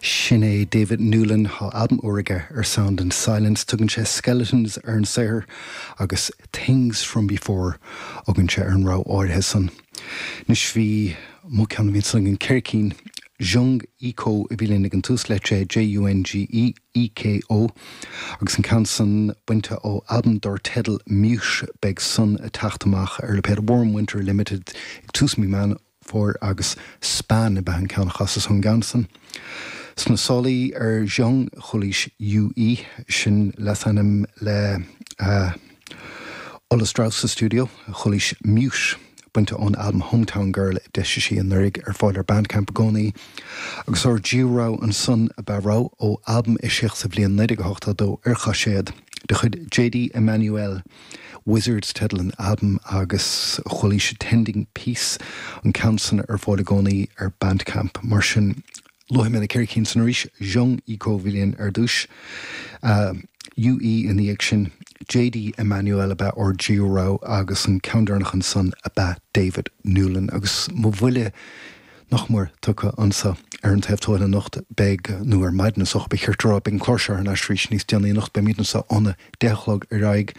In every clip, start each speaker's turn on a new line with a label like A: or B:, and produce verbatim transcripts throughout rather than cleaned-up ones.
A: Sin é David Newlin tá albam úr aige ar Sound and Silence tugann sé Skeletons ar an saothar agus Things from Before tugann sé ar an rogha áirithe san. Anois bhí mo cheann bhí san an ceithre cinn Jung Eko a bhí linn ag an tús le sé JUNGE EKO agus an ceann san bainte ó albam dar teideal Mute beidh san ag teacht amach ar lipéad Warm Winter Limited ag tús mí Meán Fómhair agus Span ab ea an ceann a chasas ón gceann san. Sna sálaí ar Jung chualaís UE sin leasainm le uh, Ola Strauss sa studio chualaís Mute bainte ón album Hometown Girl d'eisigh sí anuraidh ar fáil ar Bandcamp i gcónaí, agus ár dtríú rogha ansan ab ea rogha ó albam a eisíodh sa bhliain naoi déag ochtó dó ar chaiséad de chuid JD Emmanuel. Wizards teideal an album agus chualaís Tending Peace an ceann san ar fáil i gcónaí ar Bandcamp mar sin luaigh mé na ceithre cinn san arís Jung Eko bhí linn ar dtús. Uh, UE ina dhiaidh sin JD Emmanuel ab ea ár dtríú rogha agus an ceann deireanach ansan ab ea David Newlin agus mo bhuille nach mór tugtha anseo ar an taobh tuaithe anocht beidh nó ar maidin soch be cheirtrá beidh an clár seo ar ais arís níos déanaí anocht beimid anseo óna deich a chlog ar aghaidh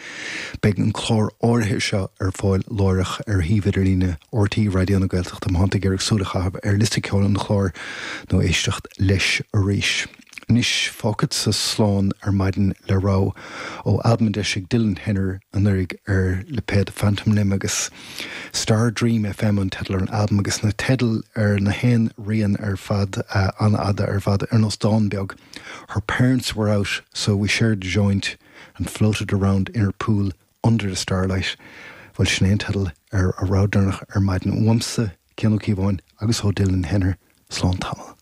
A: beidh an clár áirithe seo ar fáil láithreach ar shuíomh idirlíne RTÉ Raidió na Gaeltachta má tá tú ag iarraidh súil a chaitheamh ar liosta ceoil an chláir nó éisteacht leis arís. Anois fágfadsa slán ar maidin le rogha ó albam a d'eisigh Dylan Henner anuraidh ar lipéad Phantom Limb agus Star Dream FM an teideal ar an albam agus na teidil ar na haon rian ar fad uh, an-fhada ar fad ar nós dán beag. Her parents were out, so we shared a joint and floated around in her pool under the starlight. Bhuel sin é an teideal ar an rogha deireanach ar maidin uaimse Cian Ó Cíobháin agus ó Dylan Henner slán tamall.